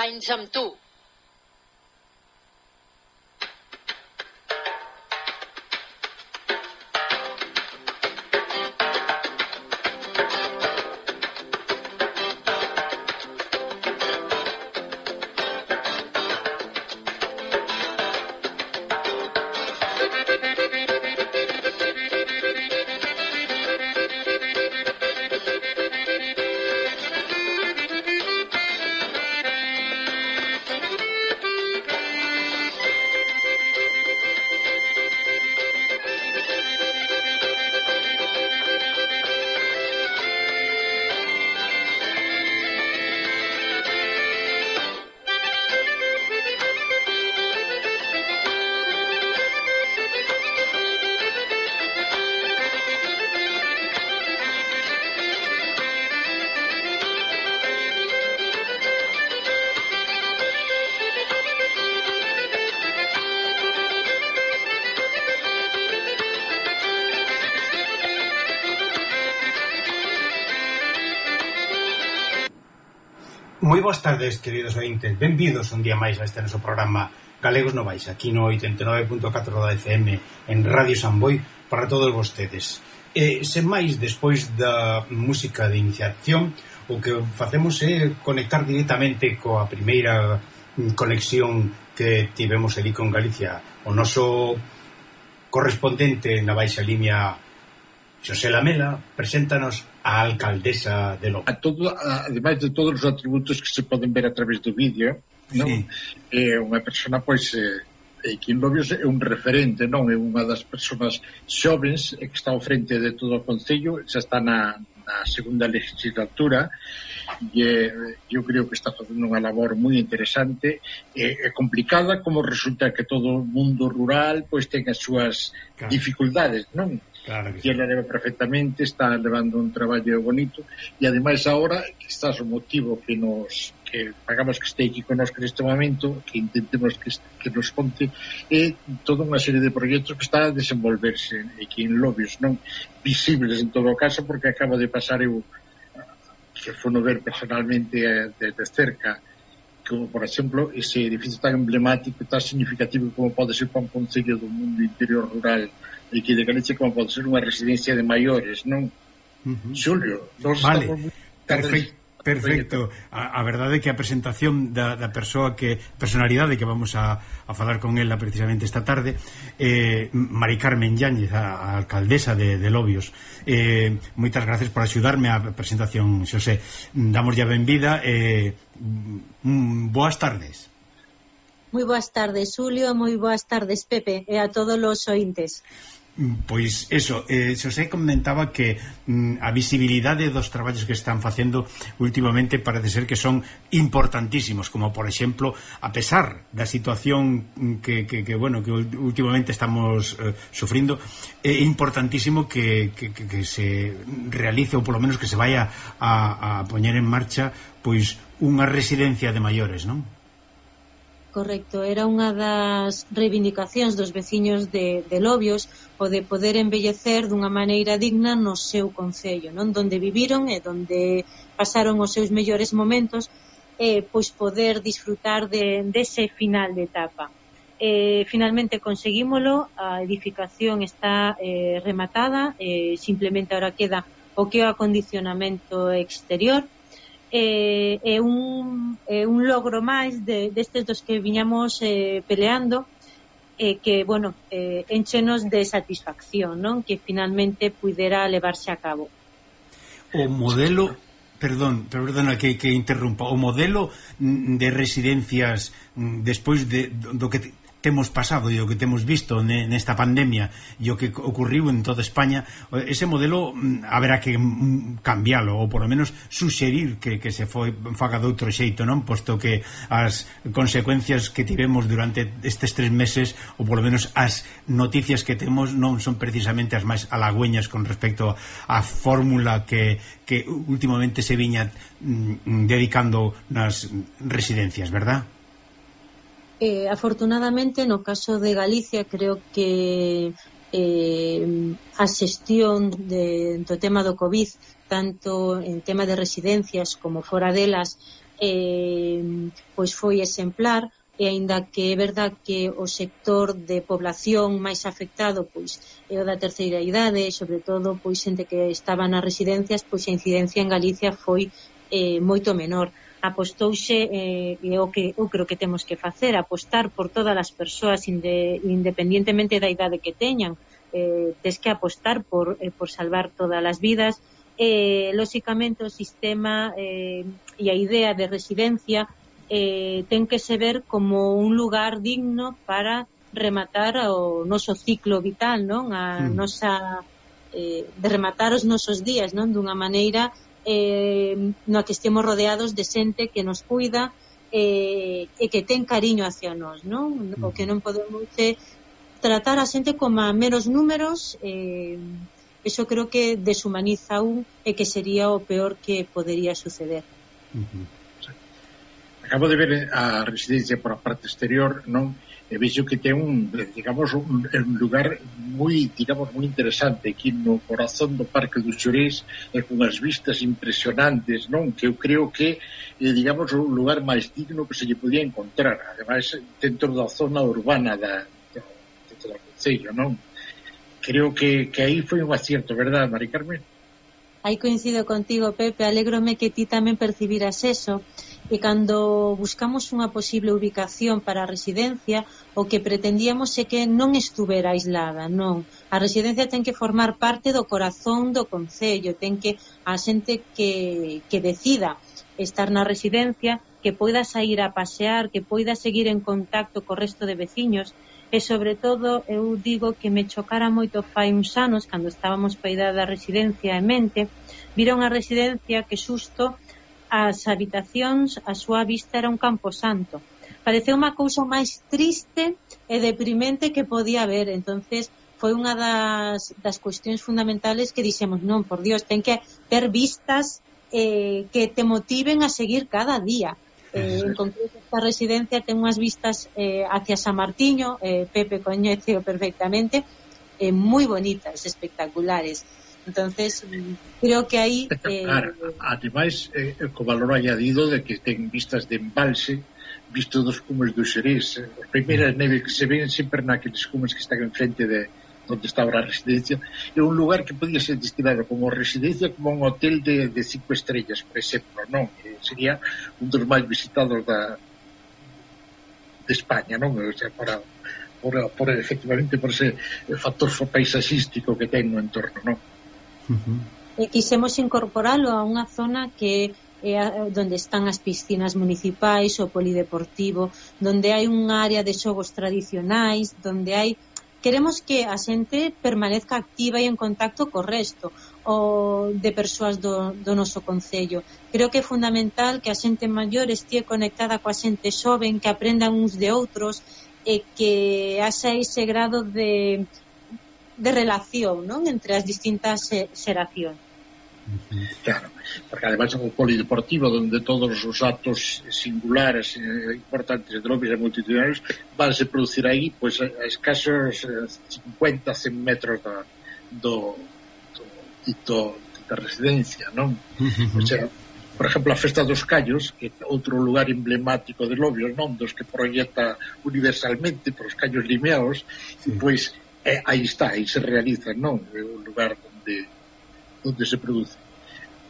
anys amb tu. Moi boas tardes, queridos ointes. Benvidos un día máis a este noso programa Galegos no Vais, aquí no 89.4 da FM en Radio Samboy para todos vostedes. Sen máis, despois da música de iniciación, o que facemos é conectar directamente coa primeira conexión que tivemos ali con Galicia. O noso correspondente na Baixa Limia, Xosé Lamela, preséntanos a alcaldesa de Lobo. Ademais de todos os atributos que se poden ver a través do vídeo, non? Sí. É unha persona, pois, que en Lobios é un referente, non? É unha das persoas xovens que está ao frente de todo o Concello, xa está na segunda legislatura, e eu creo que está facendo unha labor moi interesante e complicada, como resulta que todo o mundo rural pois ten as súas dificultades, non? Claro que E ela leva perfectamente, está levando un traballo bonito, e ademais agora que estás o motivo que pagamos que este aquí connosco neste momento, que intentemos que nos conte, é toda unha serie de proxectos que está a desenvolverse aquí en Lobios, non visibles en todo o caso, porque acabo de pasar eu que fono ver personalmente desde cerca, como por exemplo ese edificio tan emblemático, tan significativo como pode ser para un concello do mundo interior rural e que de Galicia como pode ser unha residencia de maiores, non? Xulio, vale, perfecto. A verdade é que a presentación da personalidade que vamos a falar con ela precisamente esta tarde, Mari Carmen Yáñez, a alcaldesa de Lobios. Moitas gracias por axudarme a presentación, Xosé. Damos ya benvida. Boas tardes. Moi boas tardes, Xulio, moi boas tardes, Pepe, e a todos os ointes. Pois eso, Xosé comentaba que a visibilidade dos traballos que están facendo últimamente parece ser que son importantísimos, como por exemplo, a pesar da situación que últimamente estamos sufrindo, é importantísimo que se realice, ou polo menos que se vaya a poñer en marcha pois unha residencia de maiores, non? Correcto, era unha das reivindicacións dos veciños de Lobios, o de poder embellecer dunha maneira digna no seu concello, non? Donde viviron e donde pasaron os seus mellores momentos, pois poder disfrutar dese final de etapa. Finalmente conseguímolo, a edificación está rematada, simplemente ahora queda o que é o acondicionamento exterior. É un logro máis destes dos que viñamos peleando, que, enchenos de satisfacción, non? Que finalmente pudera levarse a cabo. O modelo, perdona que interrumpa, o modelo de residencias despois do que temos pasado e o que temos visto nesta pandemia e o que ocurriu en toda España, ese modelo haberá que cambialo, ou por lo menos suxerir que se faga de outro xeito, non? Posto que as consecuencias que tivemos durante estes 3 meses, ou por lo menos as noticias que temos, non son precisamente as máis halagüeñas con respecto á fórmula que últimamente se viña dedicando nas residencias, verdad? Afortunadamente, no caso de Galicia, creo que a xestión do tema do COVID, tanto en tema de residencias como fora delas, pois foi exemplar, e aínda que é verdad que o sector de población máis afectado pois é o da terceira idade, sobre todo pois xente que estaba nas residencias, pois a incidencia en Galicia foi moito menor. Apostouse, e o que eu creo que temos que facer, apostar por todas as persoas independientemente da idade que teñan. Tes que apostar por salvar todas as vidas. Lóxicamente o sistema e a idea de residencia ten que se ver como un lugar digno para rematar o noso ciclo vital, non? A nosa de rematar os nosos días, non? Dunha maneira no que estemos rodeados de xente que nos cuida e que ten cariño hacia nós, non? O que non podemos tratar a xente como a meros números, eso creo que deshumaniza e que sería o peor que podería suceder. Acabo de ver a residencia por a parte exterior, non? E vexo que ten un lugar moi, digamos, moi interesante aquí no corazón do Parque dos Xurés, e con as vistas impresionantes, non? Que eu creo que digamos, o lugar máis digno que se lle podía encontrar, ademais dentro da zona urbana do concello, non? Creo que aí foi un acierto, verdad, Mari Carmen? Aí coincido contigo, Pepe, alégrome que ti tamén percibiras eso. E cando buscamos unha posible ubicación para a residencia, o que pretendíamos é que non estuvera aislada, non. A residencia ten que formar parte do corazón do concello, ten que a xente que decida estar na residencia, que poida sair a pasear, que poida seguir en contacto co resto de veciños, e sobre todo eu digo que me chocara moito fai uns anos, cando estábamos pa idade da residencia en mente, vira unha residencia que xusto as habitacións, a súa vista era un camposanto. Pareceu unha cousa máis triste e deprimente que podía haber. Entonces foi unha das cuestións fundamentales que dixemos, non, por Dios, ten que ter vistas que te motiven a seguir cada día. En concreto, esta residencia ten unhas vistas hacia San Martiño, Pepe coñeceo perfectamente, moi bonitas, espectaculares. Entonces, creo que aí ademais, co valor añadido de que ten vistas de embalse, visto dos cumes do Xerés, as primeiras neves que se ven sempre naqueles cumes que están enfrente de onde está ahora a residencia. É un lugar que podía ser destinado como residencia, como un hotel de 5 estrellas, por exemplo, non? Sería un dos máis visitados de España, non? O sea, por efectivamente por ese factor paisaxístico que ten no entorno, non? E quisemos incorporalo a unha zona que é onde están as piscinas municipais, o polideportivo, onde hai unha área de xogos tradicionais, onde hai... Queremos que a xente permanezca activa e en contacto co resto de persoas do noso concello. Creo que é fundamental que a xente maior estea conectada coa xente xoven, que aprendan uns de outros e que haxa ese grado de relación, non, entre as distintas xeracións. Claro, porque ademais é un polideportivo onde todos os actos singulares importantes de lobbies e multitudinarios van se producir aí pois a escasos 50-100 metros da residencia, non? O sea, por exemplo, a Festa dos Callos, que é outro lugar emblemático de Lobios, non? Dos que proyecta universalmente por os callos limeados, pois aí está, aí se realiza, non? É un lugar onde se produce.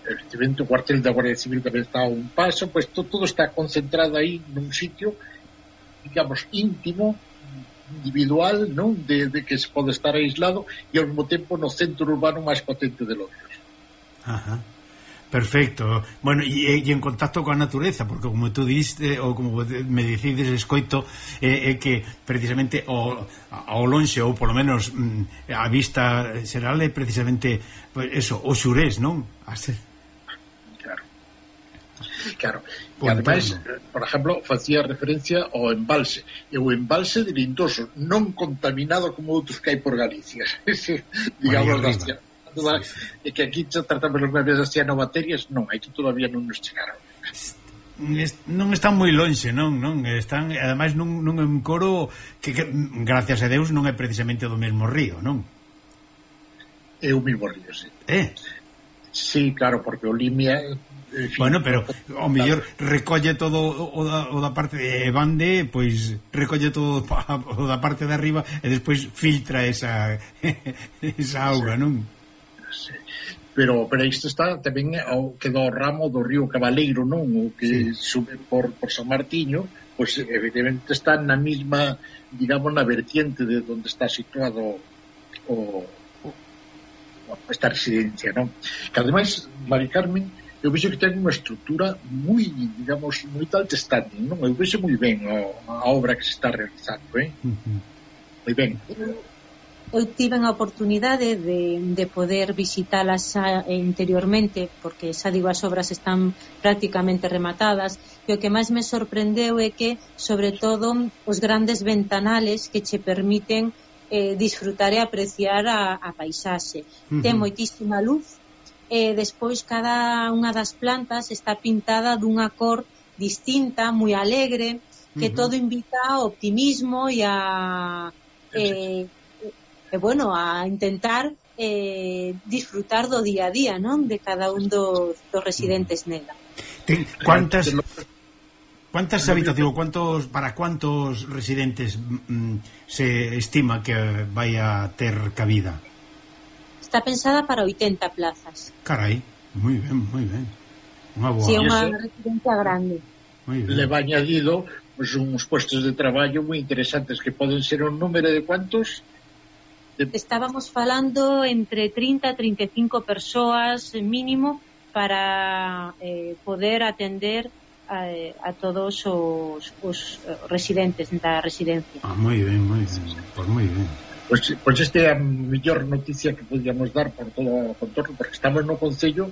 Efectivamente, o cuartel da Guardia Civil tamén está a un paso, pois todo está concentrado aí nun sitio, digamos, íntimo, individual, non? De que se pode estar aislado e ao mesmo tempo no centro urbano máis potente de Lobios. Ajá. Perfecto. Bueno, e en contacto coa natureza, porque como tú diste, ou como me dicides, escoito, é que precisamente ao lonxe, ou polo menos a vista xeral é precisamente eso, o Xurés, non? Claro. E ademais, por exemplo, facía referencia ao embalse. E o embalse de Lindoso, non contaminado como outros que hai por Galicia. Digamos, e que aquí tratamos os medios de cianobacterias, non, aquí todavía non nos chegaron. Non están moi lonxe, non? Están, ademais, nun encoro que gracias a Deus non é precisamente do mesmo río, non? É o mesmo río, sí. Sí, claro, porque o Limia... Bueno, pero o mellor recolle todo o da parte de Bande, pois recolle todo o da parte de arriba e despois filtra esa auga, non? Sí. Pero isto está tamén ao que do ramo do río Cabaleiro, non? O que sube por San Martiño, pois evidentemente está na mesma, digamos, na vertiente de onde está situado esta residencia, non? Que ademais, Mari Carmen, eu vexo que ten unha estrutura moi, digamos, moi alto standing, non? Eu vexo moi ben a obra que se está realizando, moi ben. Eu tive a oportunidade de poder visitalas interiormente, porque xa digo, as obras están prácticamente rematadas, e o que máis me sorprendeu é que, sobre todo, os grandes ventanales que che permiten disfrutar e apreciar a paisaxe. Ten moitísima luz, e despois cada unha das plantas está pintada dunha cor distinta, moi alegre, que todo invita ao optimismo e bueno, a intentar disfrutar do día a día, non? De cada un dos residentes nela. Quantas habitacións, para cuántos residentes se estima que vai a ter cabida? Está pensada para 80 plazas. Carai, moi ben. Unha boa. Si, é unha residencia grande. Le va añadido pues, uns puestos de traballo moi interesantes que poden ser un número de cuantos? Estábamos falando entre 30 a 35 persoas mínimo para poder atender a todos os residentes da residencia. Moi ben. Pois moi ben. Pois esta é a mellor noticia que podíamos dar por todo o contorno, porque estamos no concello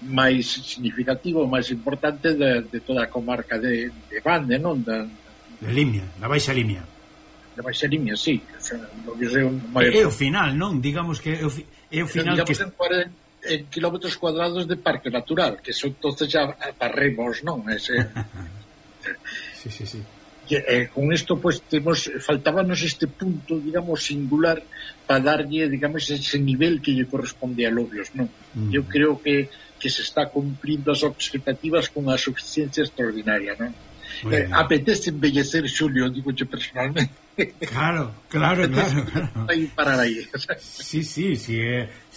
máis significativo, máis importante de toda a comarca de Bande, non? De Limia, da Baixa Limia. Da Baixa Limia, sí. É o final, non? Digamos que é o final que... en kilómetros cuadrados de parque natural, que son entonces ya parremos, non? Sí. Con isto pues faltábanos este punto, digamos, singular para darlle, digamos, ese nivel que lle corresponde a Lobios, non? Eu creo que se está cumplindo as expectativas con a suficiencia extraordinaria, non? Apetece embellecer, Xulio, digo yo personalmente. Claro. Vai parar aí.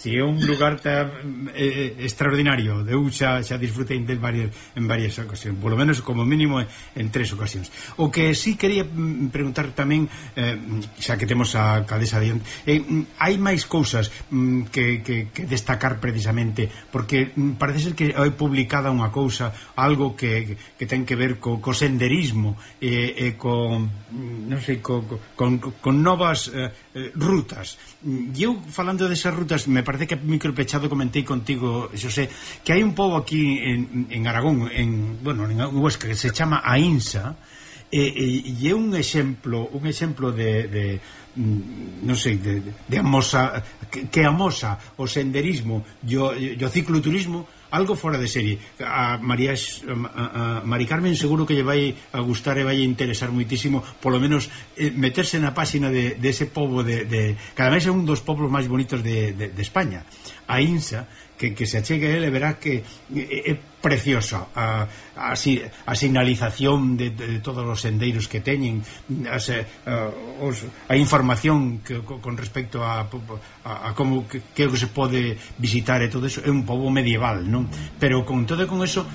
Si é un lugar tan extraordinario. Eu xa disfrutei del en varias ocasións, polo menos como mínimo en 3 ocasións. O que sí quería preguntar tamén, xa que temos a alcaldesa diante, hai máis cousas que destacar precisamente, porque parece ser que hai publicada unha cousa, algo que ten que ver co senderismo e con non sei, con novas rutas. E eu falando desas rutas, me parece que micropechado comentei contigo, Xosé, que hai un pobo aquí en Aragón, en Huesca, que se chama Ainsa, e é un exemplo de non sei, de amosa que amosa o senderismo e o cicloturismo, algo fora de serie. A Mari Carmen seguro que lle vai a gustar e vai a interesar moitísimo, polo menos meterse na páxina de ese pobo que ademais é un dos pobos máis bonitos de España, a Insa, que se achegue a ele, verá que é preciosa a sinalización de todos os sendeiros que teñen, a información con respecto a como que se pode visitar e todo eso. É un pobo medieval, non? Pero con todo e con eso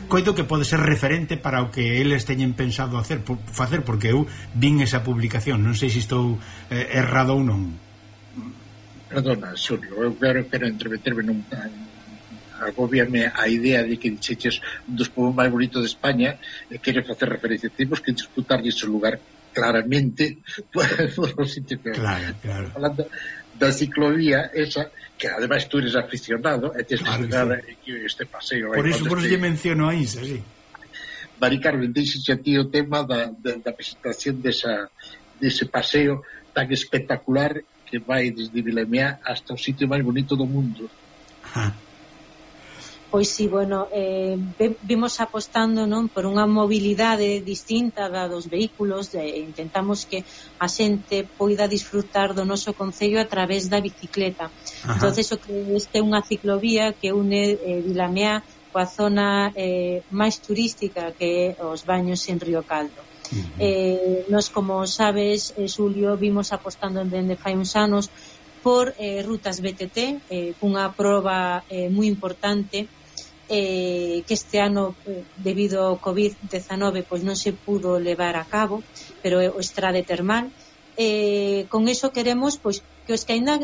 coido que pode ser referente para o que eles teñen pensado facer, porque eu vin esa publicación, non sei se estou errado ou non. Perdona, Xulio, eu quero entremeterme agobiame a idea de que dixeches un dos povos máis bonitos de España e quere facer referencia. Temos que disputarlle ese lugar claramente por os sitios. Claro. Falando da ciclovía esa, que ademais tú eres aficionado e tens que dar este paseo. Por eso lle menciono a Insa, sí. Mari Carmen, deixeche a ti o tema da presentación dese paseo tan espectacular que vai desde Vilamea hasta o sitio máis bonito do mundo. Pois si, bueno, vimos apostando, non, por unha mobilidade distinta da dos vehículos, intentamos que a xente poida disfrutar do noso concello a través da bicicleta. Entonces, o que este é unha ciclovía que une Vilameá coa zona máis turística que é os baños en Río Caldo. Nos, como sabes, Xulio, vimos apostando dende fai uns anos por rutas BTT, cunha proba moi importante que este ano, debido ao COVID-19, pois non se pudo levar a cabo, pero é o estrade termal. Con iso queremos pois que os que ainda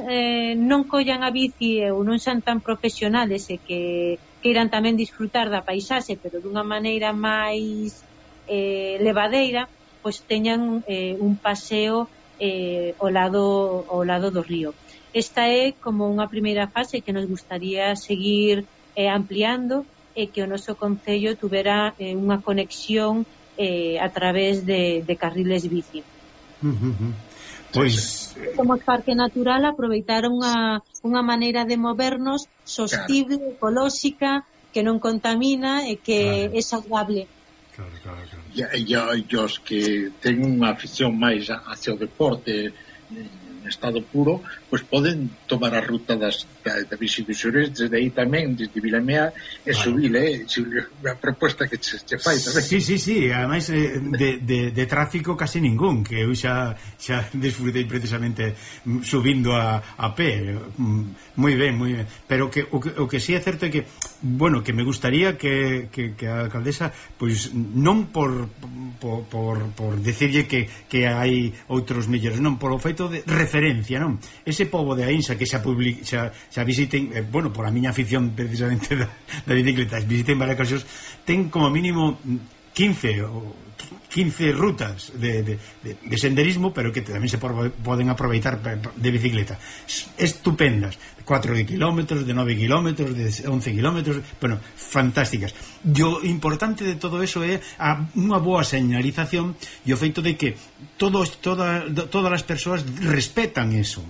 non collan a bici ou non son tan profesionales e que queiran tamén disfrutar da paisaxe, pero dunha maneira máis levadeira, pois teñan un paseo ao lado do río. Esta é como unha primeira fase que nos gustaría seguir ampliando e que o noso concello tuvera unha conexión a través de carriles bici. Pois como parque natural aproveitar unha maneira de movernos sostible, ecolóxica, que non contamina e que é saudable. E os que ten unha afición máis hacia o deporte en estado puro, pois poden tomar a ruta da bici dos Xurés desde aí tamén, desde Vilameá e subir, a proposta que che fai tamén. Sí, ademais de tráfico casi ningún, que eu xa desfrutei precisamente subindo a pé, moi ben, pero que o que sí é certo é que, bueno, que me gustaría que a alcaldesa, pois non por decirlle que hai outros mellores, non, por o feito de referencia, non? Ese pobo de Aínsa que xa visiten, bueno, por a miña afición precisamente da bicicleta, visiten varias ocasións, ten como mínimo 15 rutas de senderismo, pero que tamén se poden aproveitar de bicicleta estupendas, 4 kilómetros, de 9 kilómetros, de 11 kilómetros, bueno, fantásticas. E o importante de todo eso é unha boa señalización e o feito de que todas as persoas respetan eso.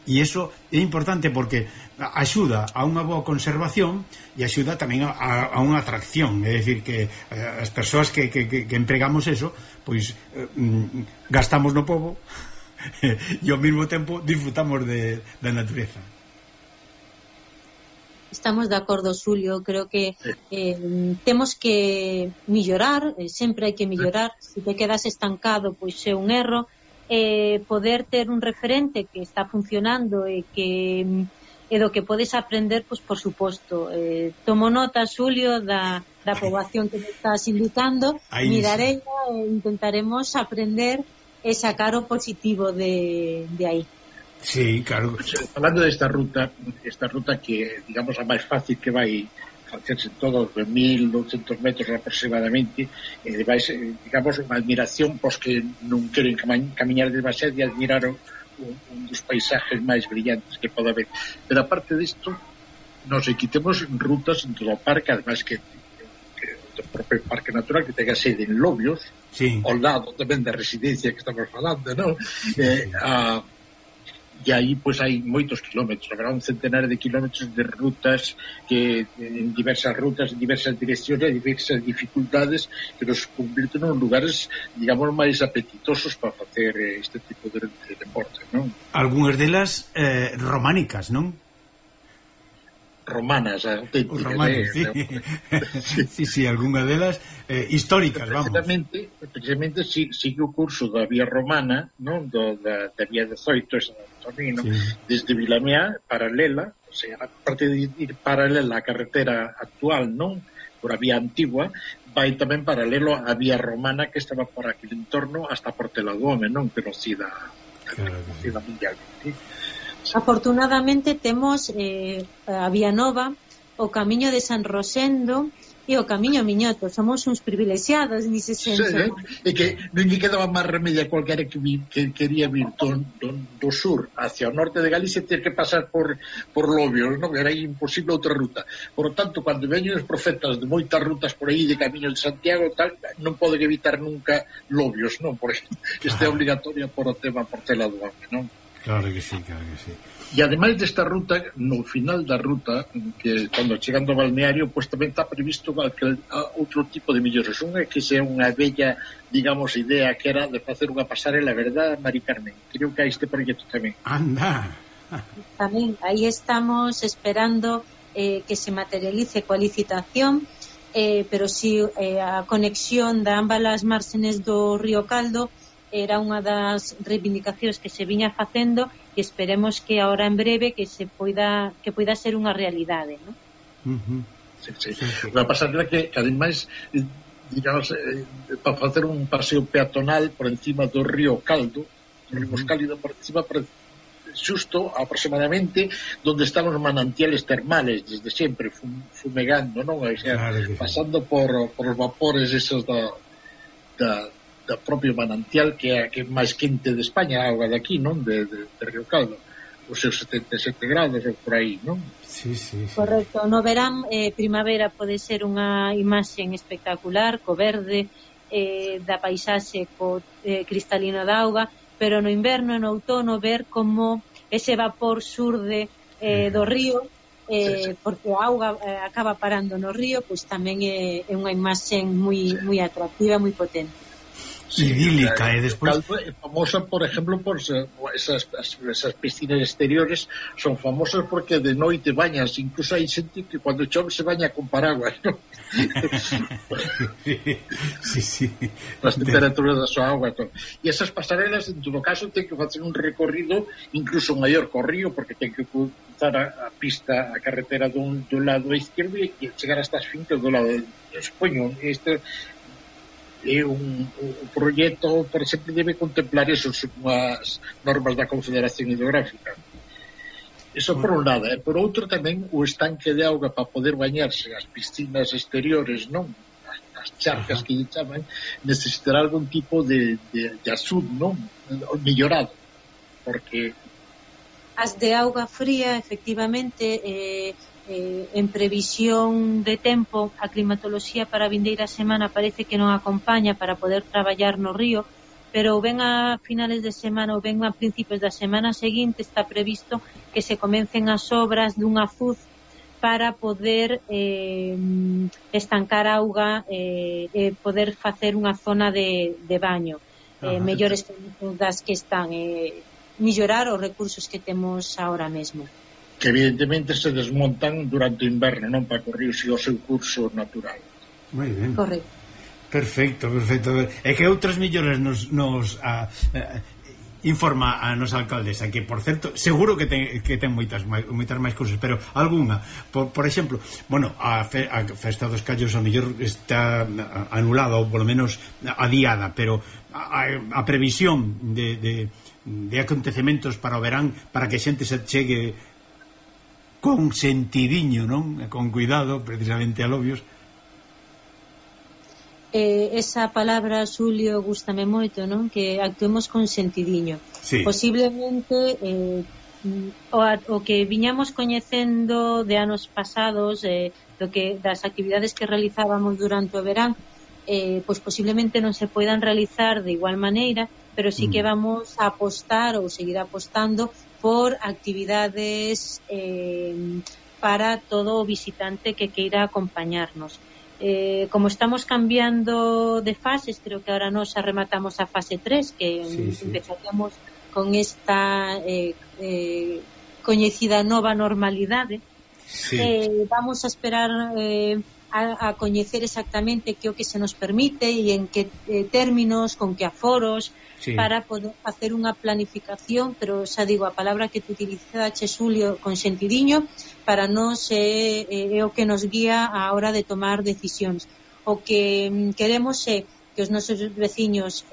E iso é importante porque axuda a unha boa conservación e axuda tamén a unha atracción, é dicir que as persoas que empregamos eso, pois gastamos no pobo e ao mesmo tempo disfrutamos da natureza. Estamos de acordo, Xulio, creo que temos que mellorar, sempre hai que mellorar. Se te quedas estancado, pois é un erro. Poder ter un referente que está funcionando e do que podes aprender, pois por suposto. Tomo nota, Xulio, da poboación que me estás indicando, mirarei e intentaremos aprender e sacar o positivo de aí. Sí, claro. Falando desta ruta que, digamos, a máis fácil que vai facerse todos de 1.200 metros aproximadamente, vais, digamos, unha admiración pos que non queren camiñar demasiado e admirar un dos paisajes máis brillantes que pode haber. Pero aparte disto, nos quitemos rutas en todo o parque, además que o propio parque natural que tenga sede en Lobios, sí, ao lado tamén da residencia que estamos falando, non? E aí pois hai moitos kilómetros, habrá un centenar de kilómetros de rutas que en diversas rutas, en diversas direccións e diversas dificultades que nos convirten en lugares, digamos, máis apetitosos para facer este tipo de deporte, non? Algúnas delas románicas, non? Romanas, auténticas. Romanas, sí, algunha delas históricas, vamos. Precisamente sigue o curso da vía romana, non? Da vía 18, esa de Torino, sí, desde Vilameá, paralela, o sea, aparte de ir paralela á carretera actual, non? Por a vía antigua, vai tamén paralelo á vía romana que estaba por aquel entorno hasta Portela do Home, non? Conocida mundialmente. Afortunadamente temos a Vía Nova, o Camiño de San Rosendo e o Camiño Miñoto. Somos uns privilexiados nese senso. Sí, e que non lle quedaba máis remedio a cualquiera que quería vir do sur hacia o norte de Galicia, ter que pasar por Lobios, non? Era imposible outra ruta. Por lo tanto, cando veñen os profetas de moitas rutas por aí de Camiño de Santiago, tal, non poden evitar nunca Lobios, non? Por exemplo, este é obligatorio por o tema Portela do Home, non? Claro que sí, claro que sí. E ademais desta ruta, no final da ruta, que cando chegando ao balneario, pois tamén está previsto outro tipo de millores. Unha que sea unha bella, digamos, idea que era de facer unha pasarela, verdad, Mari Carmen? Creo que hai este proxecto tamén. Anda. Tamén, aí estamos esperando que se materialice coa licitación, pero si a conexión da ambas as márgenes do río Caldo era unha das reivindicacións que se viña facendo e esperemos que ahora en breve que poida ser unha realidade, non? Sí. Unha pasarela que ademais, digamos, para facer un paseo peatonal por encima do río Caldo, o río Cálido por encima, xusto aproximadamente donde están os manantiales termales desde sempre, fumegando, non? O sea, claro, pasando por os vapores esos da propio manantial que é máis quente de España, a auga de aquí, non? De Río Caldo, os seus 77 grados ou por aí, non? Sí. Correcto, no verán, primavera pode ser unha imaxen espectacular, co verde da paisaxe, co cristalino da auga, pero no inverno e no outono ver como ese vapor surde do río, porque a auga acaba parando no río, pois tamén é unha imaxen moi atractiva, moi potente. Idílica, e despois é famosa, por exemplo, por esas piscinas exteriores son famosas porque de noite bañas, incluso hai xente que cando chove se baña con paraguas, ¿no? sí. As temperaturas da súa auga, e esas pasarelas en todo caso ten que facer un recorrido incluso maior co río, porque ten que cruzar a pista, a carretera dun lado izquierdo e chegar hasta as fincas do lado supoño, este é un proxecto, por exemplo, debe contemplar eso, as normas da Confederación Hidrográfica. Eso por un lado, por outro tamén o estanque de auga para poder bañarse, as piscinas exteriores, non? As charcas que lle chaman, necesitará algún tipo de asud, non? Millorado, porque as de auga fría, efectivamente, en previsión de tempo, a climatoloxía para a vindeira semana parece que non acompaña para poder traballar no río, pero ou ben a finales de semana ou ben a principios da semana seguinte está previsto que se comecen as obras dun azud para poder estancar auga e poder facer unha zona de baño, mellores das que están, mellorar os recursos que temos ahora mesmo, que evidentemente se desmontan durante o inverno, non para que o río siga o seu curso natural. Moi ben. Correcto. Perfecto. É que outras melloras nos informa a nosa alcaldesa, que por certo, seguro que ten moitas máis cousas, pero algunha, por exemplo, bueno, a Festa dos Callos a mellor está anulada ou polo menos adiada, pero a previsión de acontecementos para o verán, para que a xente se chegue con sentidiño, non? Con cuidado, precisamente a Lobios. Esa palabra, Xulio, gústame moito, non? Que actuemos con sentidiño. Sí. Posiblemente o que viñamos coñecendo de anos pasados, das actividades que realizábamos durante o verán, pois posiblemente non se poidan realizar de igual maneira, pero sí que vamos a apostar ou seguir apostando por actividades para todo o visitante que queira acompañarnos. Como estamos cambiando de fases, creo que ahora nos rematamos a fase 3, que empezaríamos con esta coñecida nova normalidade. Vamos a esperar a coñecer exactamente que o que se nos permite e en que términos, con que aforos, para poder facer unha planificación, pero xa digo, a palabra que te utilizaste, Xulio, con sentidiño, para nós é o que nos guía a hora de tomar decisións. O que queremos é que os nosos veciños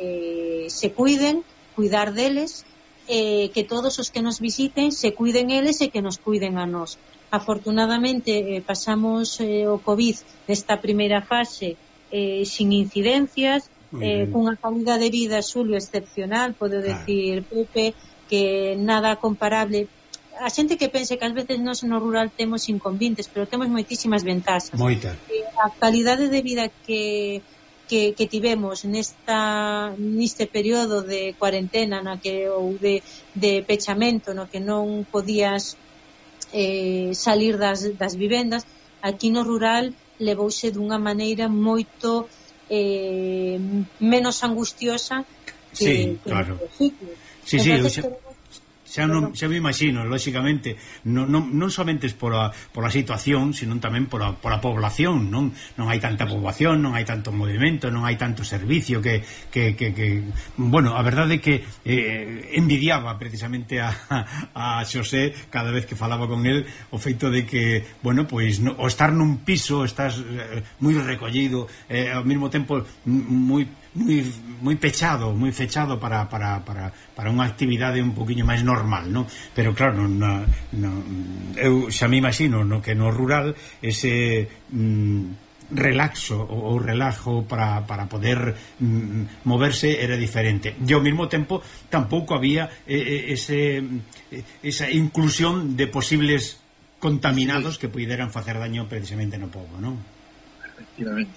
se cuidar deles, que todos os que nos visiten se cuiden eles e que nos cuiden a nós. Afortunadamente pasamos o COVID nesta primeira fase sin incidencias, cunha calidad de vida, Xulio, excepcional, podo decir, Pepe, que nada comparable. A xente que pense que ás veces nós no rural temos inconvenientes, pero temos moitísimas ventaxas. Moita. A calidade de vida que que tivemos neste período de cuarentena ou de pechamento no que non podías salir das vivendas, aquí no rural levouse dunha maneira moito menos angustiosa que claro. no sitio. Sí, xa me imagino, lóxicamente, non somente pola situación, sino tamén pola población, non hai tanta poboación, non hai tanto movimento, non hai tanto servicio que bueno, a verdade é que envidiaba precisamente a Xosé cada vez que falaba con el o feito de que, bueno, pois o estar nun piso estás moi recollido, ao mesmo tempo moi fechado para unha actividade un poquinho máis normal, non? Pero claro, eu xa me imagino que no rural ese relaxo ou relajo para poder moverse era diferente, e ao mesmo tempo tampouco había esa inclusión de posibles contaminados que puderan facer daño precisamente no pobo, non? Efectivamente.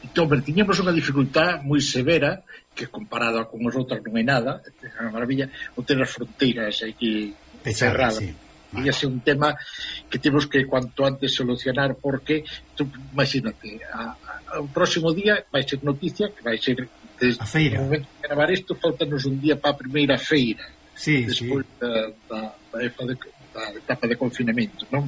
Entón, tiñamos unha dificultad moi severa que comparada con as outras non é nada, é unha maravilla, o ter as fronteiras aquí cerradas. Sí. Vale. E ese é un tema que temos que cuanto antes solucionar, porque tú, imagínate, o próximo día vai ser noticia que vai ser desde o momento de gravar isto, faltanos un día para a primeira feira, despois da etapa de confinamento, non?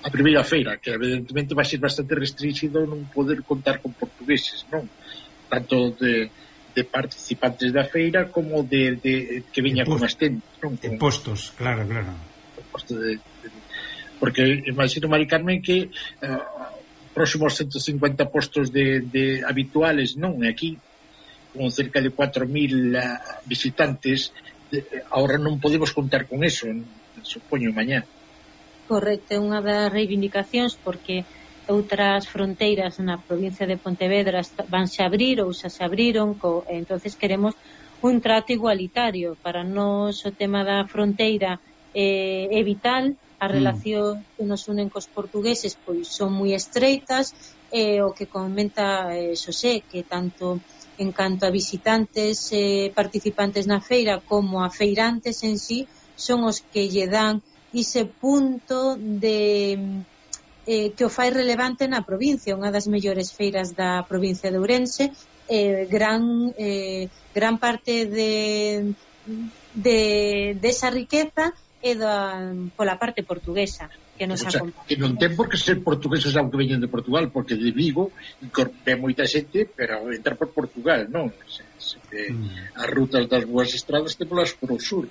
A primeira feira, que evidentemente vai ser bastante restringido non poder contar con portugueses, non? Tanto de participantes da feira como de que veña con as tendas, non? De postos, claro. Porque imagino, Mari Carmen, que próximos 150 postos de habituales, non? Aquí, con cerca de 4.000 visitantes, ahora non podemos contar con eso, supoño, mañá. Correcto, é unha das reivindicacións, porque outras fronteiras na provincia de Pontevedra vanse a abrir ou xa se abriron, entonces queremos un trato igualitario. Para nós o tema da fronteira é vital, a relación que nos unen cos portugueses pois son moi estreitas, o que comenta Xosé, que tanto en canto a visitantes participantes na feira como a feirantes en sí son os que lle dan ese punto de que o fai relevante na provincia, unha das mellores feiras da provincia de Ourense, gran parte desa riqueza é pola parte portuguesa que nos acompaña. Que non ten por que ser portugueses aunque veñen de Portugal, porque de Vigo ve moita xente, pero entra por Portugal, non? As rutas das boas estradas témolas por o sur.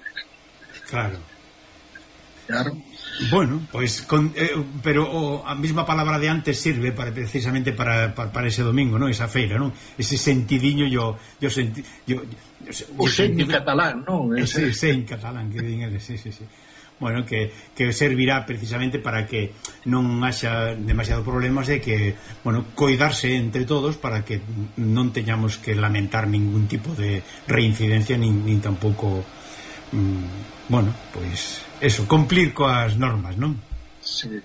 Claro. Bueno, pois pero a mesma palabra de antes sirve precisamente para ese domingo, ¿no? Esa feira, ¿no? Ese sentidiño o sen en catalán, ¿no? Sí, en catalán, que din eles, sí. Bueno, que servirá precisamente para que non haxa demasiados problemas e que, bueno, coidarse entre todos para que non teñamos que lamentar ningún tipo de reincidencia nin tampouco bueno, pois eso, cumplir coas normas, non? Sí.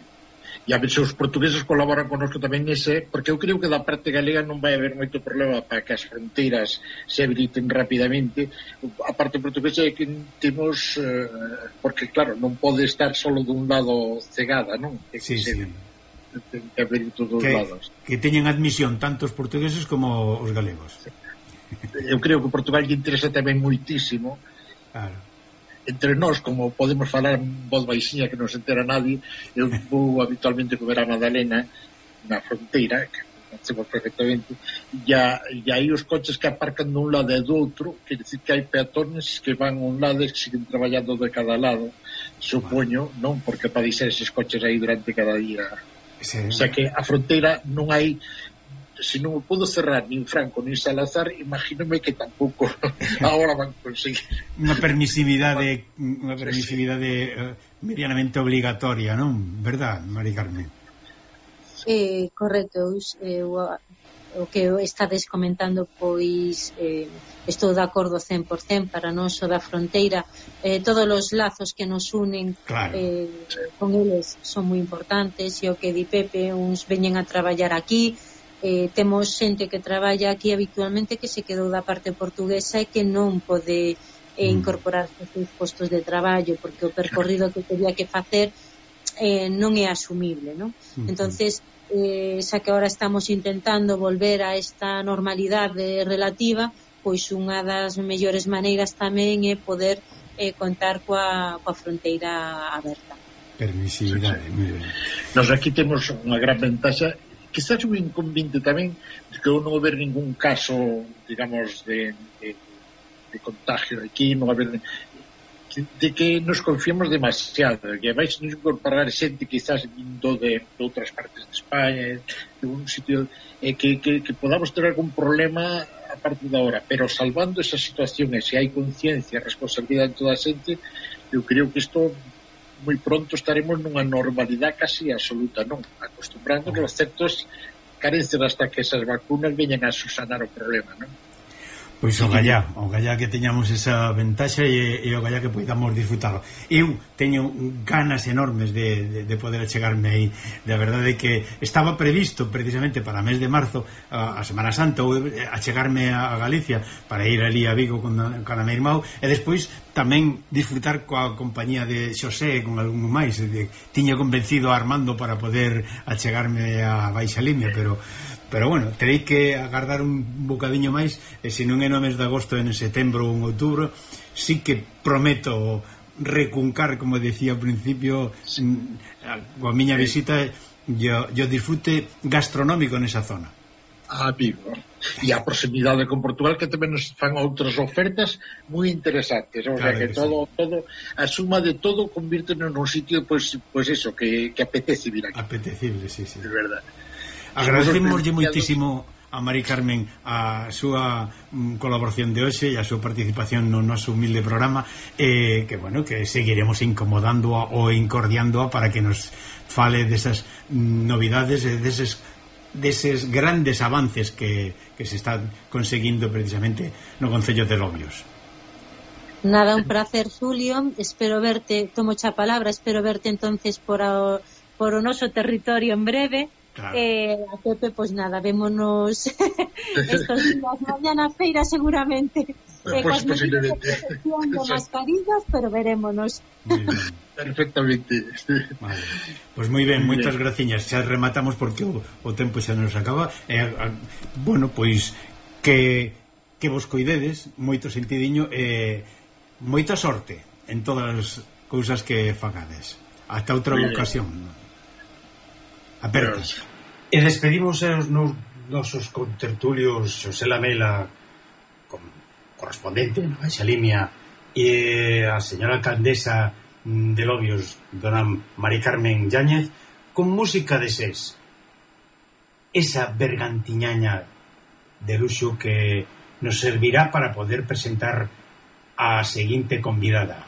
E a ver se os portugueses colaboran connosco tamén nese, porque eu creo que da parte galega non vai haber moito problema para que as fronteiras se habiliten rapidamente. A parte portuguesa é que temos porque claro, non pode estar solo dun lado cegada, non? Sí. Ten que haber todos os lados. Que teñen admisión tanto os portugueses como os galegos. Eu creo que Portugal lle interesa tamén moitísimo. Claro. Entre nós, como podemos falar en voz baixinha que non se entera nadie, eu vou habitualmente comer a Madalena na fronteira, que conocemos perfectamente, e aí os coches que aparcan dun lado e do outro, quer dizer que hai peatones que van a un lado e que siguen traballando de cada lado, supoño, non? Porque para deixar eses coches aí durante cada día. Sí. O sea que a fronteira non hai, se non o podo cerrar nin Franco nin Salazar, imagínome que tampouco agora van conseguir unha permisividade medianamente obligatoria, non? Verdad, Mari Carmen? Correcto, o que estades comentando, pois estou de acordo 100%. Para nós o da fronteira, todos os lazos que nos unen, claro, con eles son moi importantes, e o que di Pepe, uns veñen a traballar aquí, temos xente que traballa aquí habitualmente que se quedou da parte portuguesa e que non pode incorporarse aos seus postos de traballo porque o percorrido que teria que facer non é asumible, non? Entonces, xa que agora estamos intentando volver a esta normalidade relativa, pois unha das mellores maneiras tamén é poder contar coa fronteira aberta. Permisividade, moi ben. Nos aquí temos unha gran ventaxa, quizás un inconveniente tamén, de que non haber ningún caso, digamos, de contagio aquí, non haber de que nos confiamos demasiado, que vais nos incorporar xente quizás vindo de outras partes de España, de un sitio, que podamos ter algún problema a partir da hora, pero salvando esa situación, e se hai conciencia e responsabilidade de toda a xente, eu creo que isto moi pronto estaremos nunha normalidade casi absoluta, non? Acostumbrándonos a certos carencias hasta que esas vacunas veñan a susanar o problema, non? Pois o gallá que teñamos esa ventaxa e o gallá que podamos disfrutarlo. Eu teño ganas enormes de poder achegarme aí. De verdade que estaba previsto precisamente para o mes de marzo, a Semana Santa, achegarme a Galicia para ir ali a Vigo con a meu irmão e despois tamén disfrutar coa compañía de Xosé con algún máis. Tiña convencido a Armando para poder achegarme a Baixa Limia, pero bueno, terei que agardar un bocadiño máis e se non é no mes de agosto, en setembro ou en outubro, sí que prometo recuncar, como decía ao principio, coa miña visita yo disfrute gastronómico nesa zona. A Vigo e a proximidade con Portugal, que tamén nos fan outras ofertas moi interesantes, o sea que todo a suma de todo convírtenos nun sitio pois eso, que apetece vir aquí. Apetecible, sí. De verdade. Agradecemoslle moitísimo a Mari Carmen a súa colaboración de hoxe e a súa participación no noso humilde programa, que bueno, que seguiremos incomodándoa ou incordiándoa para que nos fale desas novidades e deses grandes avances que se están conseguindo precisamente no Concello de Lobios. Nada, un placer, Julio, espero verte, tomo xa palabra, espero verte entonces por o noso territorio en breve. Claro. A Pepe, pois nada, vémonos estos días, mañana feira seguramente, pues posiblemente de mascarillas, pero verémonos. Perfectamente. Vale. Pois moi ben, moitas graciñas. Xa rematamos porque o tempo xa nos acaba. Bueno, pois que vos coidedes, moito sentidiño e moita sorte en todas as cousas que fagades. Hasta outra ocasión. Apertas. E despedimos os nosos contertulios Xosé Lamela, correspondente na Baixa Limia, e a señora alcaldesa de Lobios, dona Mari Carmen Yáñez, con música de SES, esa bergantiñaña de luxo que nos servirá para poder presentar a seguinte convidada.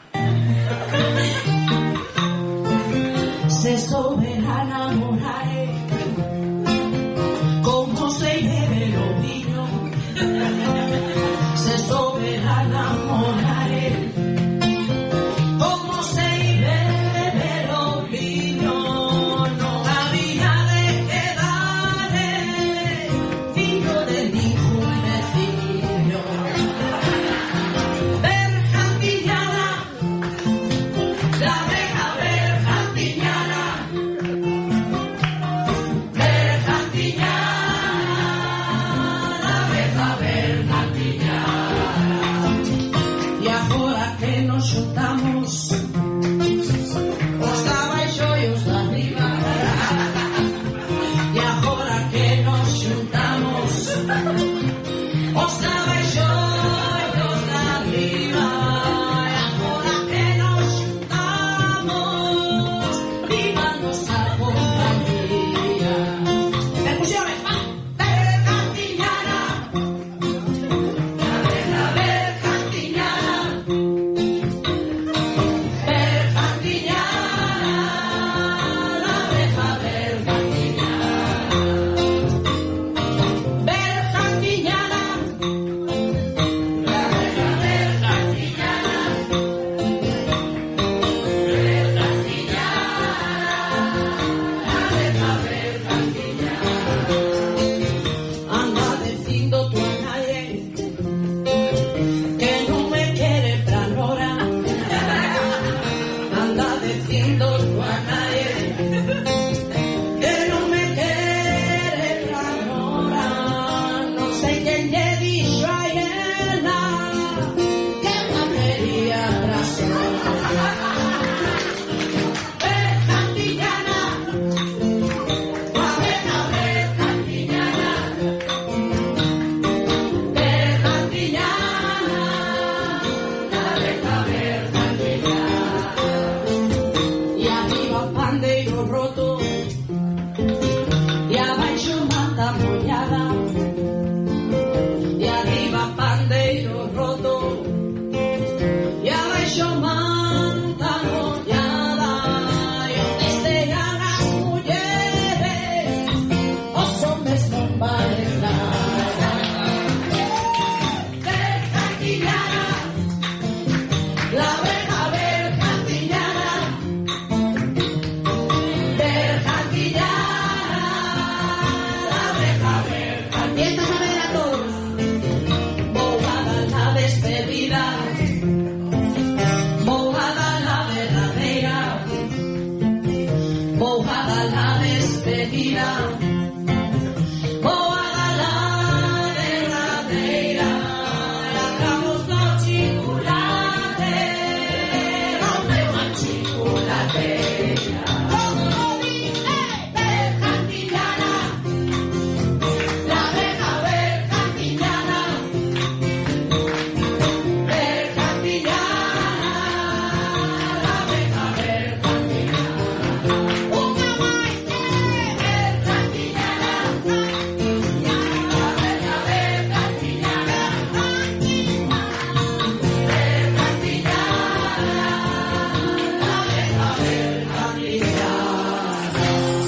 Se soberana morare como se bebe o vino, se soberana morare como se bebe o vino, no había de quedar fijo de ningún vecino. Bergantiñana roto e abaixo manta mollada e arriba pandeiro roto e abaixo manta mollada e onde estean as mulleres os homes non valen nada. Bergantiñana, la oveja bergantiñana, bergantiñana, la oveja bergantiñana. Y esta saber a todos, vou a dar la despedida, vou a dar la verdadeira, vou a dar la despedida.